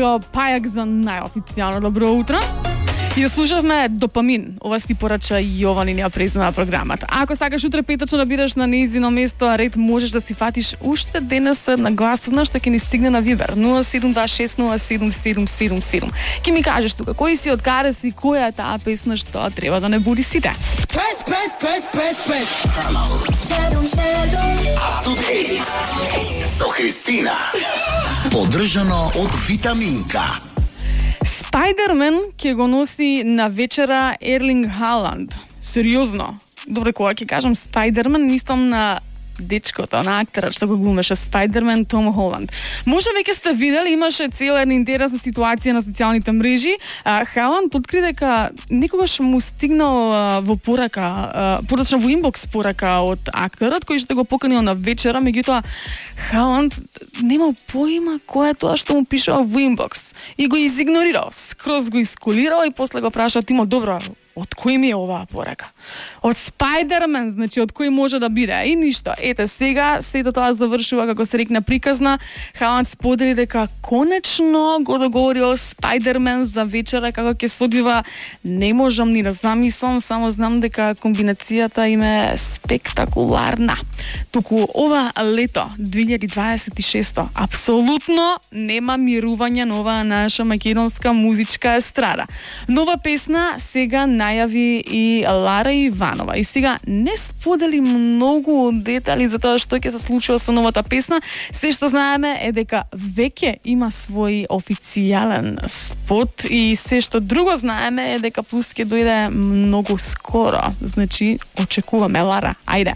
Его пајак за најофицијално добро утро. И да слушавме Допамин. Ова си порача Јованинија презна на програмата. Ако сакаш утре петочно да бидеш на нејзино место, а ред можеш да си фатиш уште денес на гласовна што ќе ни стигне на Вибер 072607777. Ќе ми кажеш тука кој си, од каде си, која е таа песна што треба да не буди сите. Press. Со Христина. Поддржано од Витаминка. Спајдермен ќе го носи на вечера Ерлинг Халанд. Сериозно. Добре, кога ќе кажам Спајдермен, мислам на дечкото, на актерот што го глумеше Спајдермен, Том Холанд. Може веќе сте видели, имаше цела една интересна ситуација на социјалните мрежи. Халанд откри дека некогаш му стигнал во порака, подочно во инбокс порака од актерот кој што го поканил на вечера, меѓутоа Халанд немал поима кој е тоа што му пишува во инбокс и го изигнорирал, скроз го искулирал и после го праша Тимо, добро, од кој ми е оваа порака? Од Спајдермен, значи од кој може да биде? И ништо. Ете, сега сето тоа завршува, како се рекне, приказна. Халанд сподели дека конечно го договорил Спајдермен за вечера како ќе се одвива. Не можам ни да замислам, само знам дека комбинацијата им е спектакуларна. Туку ова лето 2026 апсолутно нема мирување на оваа наша македонска музичка естрада. Нова песна сега најави и Лара Иванова. И сега не сподели многу детали за тоа што ќе се случува со новата песна. Се што знаеме е дека веќе има свој официјален спот и се што друго знаеме е дека плюс ќе дојде многу скоро. Значи, очекуваме Лара. Ајде.